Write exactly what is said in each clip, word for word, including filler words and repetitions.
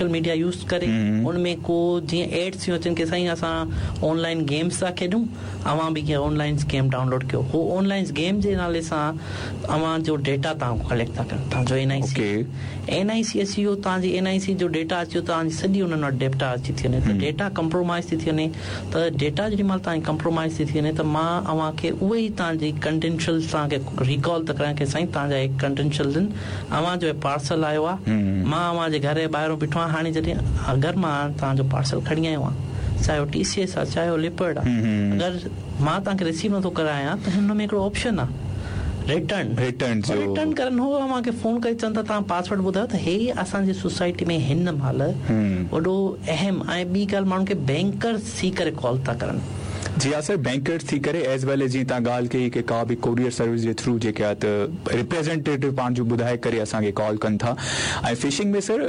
Social media use ڪري ان ۾ ڪو جيئن ايڊس ٿيون اچن ڪه سائين اسان آنلائن گيمس ٿا کيڏون، اوهان به ڪيئن آنلائن گيم ڊائونلوڊ ڪيو. هو آنلائن گيم جي نالي سان اوهان جو ڊيٽا توهان ڪليڪٽ ٿا ڪن. توهان جو N I C N I C اچي ويو، توهان جي اين I سي جو ڊيٽا اچي ويو، توهان جي سڄي انهن وٽ ڊيٽا اچي ٿي وڃي ته ڊيٽا ڪمپرومائز ٿي ٿي وڃي. ته ڊيٽا جيڏي مهل توهان جي ڪمپرومائز ٿي ٿي وڃي ته مان اوهان کي اهي ئي توهان جي ڪريڊينشلز توهان کي ريڪال ٿو ڪرايان ڪه سائين توهان جا هي ڪريڊينشلز آهن، اوهان جو پارسل آيو آهي، مان اوهان جي گهر جي ٻاهران بيٺو آهيان. هاڻي جڏهن اگر مان توهان جو پارسل کڻي آيو آهيان، چاهي اهو ٽي سي ايس آهي چاهي اهو ليپرڊ آهي، اگر مان توهان کي رسيو نٿو ڪرايان ته هن ۾ هڪڙو آپشن آهي ريٽرن ريٽرن جو. ريٽرن ڪرن. هو اوهان کي فون ڪري چون ٿا توهان پاسورڊ ٻڌايو. ته هي اسان جي سوسائٽي ۾ هن مهل وڏو اهم ۽ ٻي ڳالهه ماڻهن کي بينڪرز ٿي ڪري ڪال ٿا ڪرن. جي ها سر، بينڪرز ٿي ڪري ايز ويل ايز جيئن توهان ڳالهه ڪئي ڪه ڪا به ڪوريئر سروس جي ٿرو جيڪي آهي ته ريپريزينٽيٽو پاڻ جو ٻڌائي ڪري اسان کي ڪال ڪن ٿا. ۽ فشنگ ۾ سر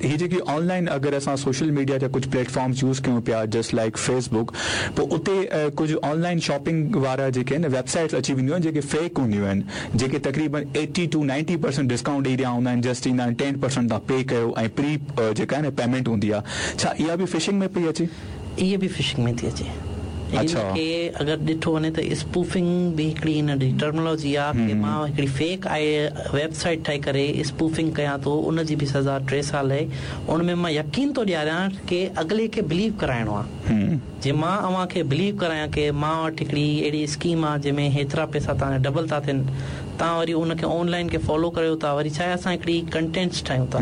هي جيڪي آنلائن اگر اسان سوشل ميڊيا جا ڪجهه پليٽفارمز يوز ڪيون پيا جسٽ لائڪ فيس بڪ، پوءِ اتي ڪجهه آنلائن شاپنگ وارا جيڪي آهن ويب سائيٽس اچي وينديون آهن جيڪي فيڪ هونديون آهن، جيڪي تقريبن eighty two ninety percent discount ڏيئي رهيا هوندا آهن، جسٽ چوندا آهن ٽين پرسنٽ توهان پي ڪيو ۽ پري جيڪا آهي نه پيمينٽ هوندي آهي. ڇا اها به فشنگ ۾ پئي اچي؟ اها به فشنگ ۾ ٿي اچي. اڇا. هن کي اگر ڏٺو وڃي ته اسپوفنگ به هڪڙي هن جي ٽرمنالاجي آهي ڪه مان هڪڙي فيڪ آئي ويب سائيٽ ٺاهي ڪري اسپوفنگ ڪيان ٿو، ان جي به سزا ٽي سال آهي. ان ۾ مان يقين ٿو ڏياريان ڪه اڳلي کي بليو ڪرائڻو آهي. جي مان اوهان کي بليو ڪرايان ڪه مان وٽ هڪڙي اهڙي اسڪيم آهي جنهن ۾ هيترا پئسا توهان جا ڊبل ٿا ٿين، توهان وري ان کي آنلائن کي فالو ڪريو ٿا، وري ڇا آهي اسان هڪڙي ڪنٽينٽس ٺاهيون ٿا.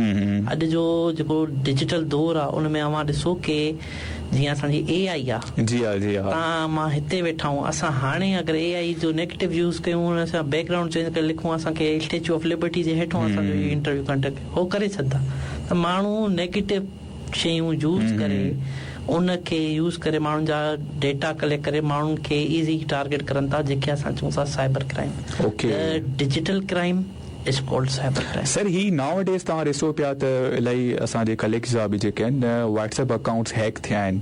اڄ جو جيڪو ڊجيٽل دور آهي ان ۾ اوهان ڏسو ڪه جيئن اسان جي اي آئي آهي، جي ها جي ها توهان مان هتي ويٺا آهيون، اسان هاڻي اگر اي آئي جو نيگيٽو يوز ڪيون، ان سان بيڪ گرائونڊ چينج ڪري لکون اسان کي اسٽيچو آف لبرٽي جي هيٺون اسان جو اهو انٽرويو ڪنڊڪٽ هو ڪري ڇڏندا. ته ماڻهو نيگيٽو شيون يوز ڪري ان کي يوز ڪري ماڻهن جا ڊيٽا ڪليڪٽ ڪري ماڻهن کي ايزي ٽارگيٽ ڪرن ٿا، جيڪي اسان چئون ٿا cyber crime. Okay digital crime is called cyber crime. Sir هي ناو ڊيز توهان ڏسو پيا ته الاهي اسان جي ڪليگس جا به جيڪي آهن واٽس ايپ اڪائونٽس هيڪ ٿيا آهن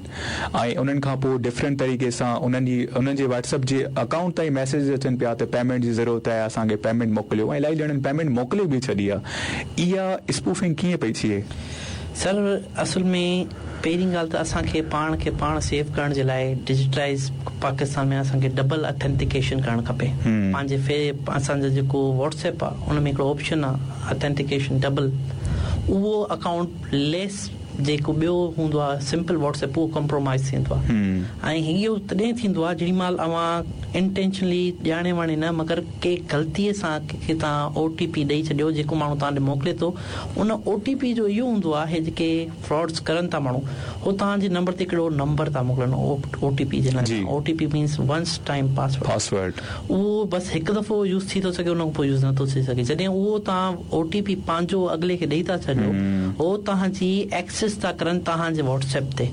۽ انهن کان پوءِ ڊفرنٽ طريقي سان انهن جي انهن جي واٽس ايپ جي اڪائونٽ تائين ميسيج اچن پيا ته پيمينٽ جي ضرورت آهي، اسان کي پيمينٽ موڪليو ۽ الاهي ڄڻن پيمينٽ موڪلي به ڇڏي آهي. اها اسپوفنگ ڪيئن پئي ٿئي؟ سر اصل ۾ پهرين ڳالهه ته اسان کي پاڻ کي پاڻ سيف ڪرڻ جي لاءِ ڊجيٽلائيز پاڪستان ۾ اسان کي ڊبل اٿينٽيڪيشن ڪرڻ کپي. پنهنجي في اسان جو جيڪو واٽس ايپ آهي ان ۾ هڪڙو آپشن آهي اٿينٽيڪيشن ڊبل، اهو اڪائونٽ ليس جيڪو ٻيو هوندو آهي سمپل واٽس ايپ اهو ڪمپرومائز ٿيندو آهي. ۽ اهو تڏهن ٿيندو آهي جيڏي مهل اوهان انٽينشنلي ڄاڻي واڻي نه مگر ڪي غلطيءَ سان ڪنهن کي توهان او ٽي پي ڏيئي ڇڏيو جيڪو ماڻهو توهان ڏي موڪلي ٿو. ان او ٽي پي جو اهو هوندو آهي جيڪي فراڊس ڪرن ٿا ماڻهو، هو توهان جي نمبر تي هڪڙو نمبر ٿا موڪلن او ٽي پي جي لاءِ. O T P means once time password. Password اهو بس هڪ دفعو يوز ٿي ٿو سگهي، ان کان پوءِ يوز نٿو ٿي سگهي. جڏهن اهو توهان او ٽي پي پنهنجو اڳلي کي ڏيئي ٿا ڇڏيو، هو توهان جي ايڪسيس ٿا ڪرن توهان جي واٽس ايپ تي.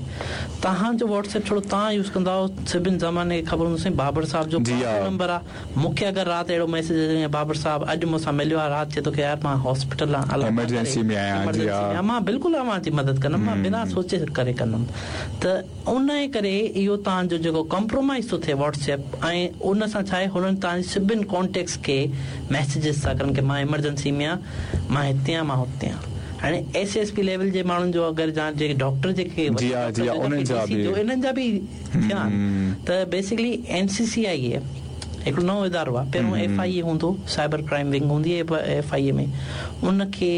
توهان جو واٽس ايپ ڇڙو توهان يوز ڪندا آهيو، سڀني زماني کي خبر هوندو سائين بابر صاحب جو نمبر آهي. مون کي اگر رات اهڙو ميسيج اچي بابر صاحب اڄ مون سان مليو آهي، رات چئي ٿو ڪه يار مان هاسپيٽل آهيان، ايمرجنسي ۾ آهيان، مان بلڪل اوهان جي مدد ڪندم، مان بنا سوچي ڪري ڪندم. ته ان جي ڪري اهو توهان جو جيڪو ڪمپرومائز ٿو ٿئي واٽس ايپ ۽ ان سان ڇا آهي هنن توهان جي سڀني ڪانٽيڪٽس کي ميسيجز ٿا ڪرن ڪه مان ايمرجنسي ۾ آهيان، مان هتي آهيان، مان هتي آهيان. هاڻي ايس ايس پي ليول جي ماڻهن جو اگر جيڪي ڊاڪٽر جيڪي انهن جا به ٿيا آهن. ته بيسڪلي اين سي سي آئي اي هڪڙو نئون ادارو آهي. پهريون ايف I اي هوندو، سائبر ڪرائيم ونگ هوندي آهي ايف I اي ۾، ان کي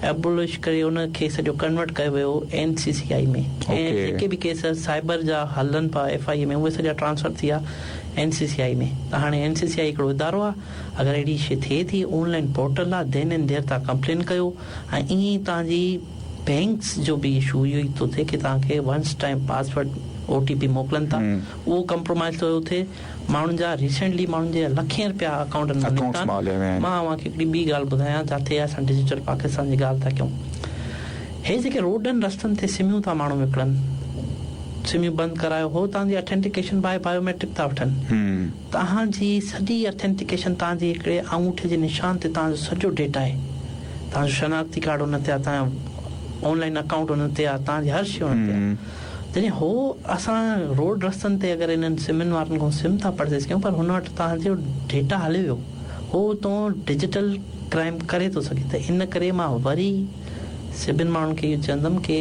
ايبولش ڪري ان کي سڄو ڪنورٽ ڪيو ويو اين سي سي آئي ۾. ۽ جيڪي به ڪيس سائبر جا هلن پيا ايف I اي ۾ اهي سڄا ٽرانسفر ٿي ويا اين سي سي آئي ۾. ته هاڻي اين سي سي آئي هڪڙو ادارو آهي، اگر اهڙي شيءِ ٿئي ٿي آنلائن پورٽل آهي، دين اينڊ there توهان ڪمپلين ڪيو. ۽ ائين ئي توهان جي بينڪس جو به اشو اهو ئي ٿو ٿئي ڪه توهان کي once time password O T P موڪلن ٿا، اهو ڪمپرومائز ٿو ٿئي. ماڻهن جا ريسينٽلي ماڻهن جي لکين رپيا اڪائونٽن ۾ نڪتا. مان اوهان کي هڪڙي ٻي ڳالهه ٻڌايان جتي اسان ڊجيٽل پاڪستان جي ڳالهه ٿا ڪيون. هي جيڪي روڊن رستن تي سميون ٿا ماڻهو وڪڻن، سميون بند ڪرايو، هو توهان جي اٿينٽيڪيشن باءِ بايوميٽرڪ ٿا وٺن. توهان جي سڄي اٿينٽيڪيشن توهان جي هڪڙي آڱوٺي جي نشان تي توهان جو سڄو ڊيٽا آهي، توهان جو شناختي ڪارڊ هن تي آهي، توهان جو آنلائن اڪائونٽ هن تي آهي، توهان جي هر شيءِ هن تي آهي. جڏهن هو اسان روڊ رستن تي اگر انهن سمن وارن کان سم ٿا پرچيز ڪيون، پر هن وٽ توهان جو ڊيٽا هلي ويو، هو تون ڊجيٽل ڪرائيم ڪري ٿو سگهي. ته ان ڪري مان وري سڀني ماڻهن کي اهو چوندم ڪه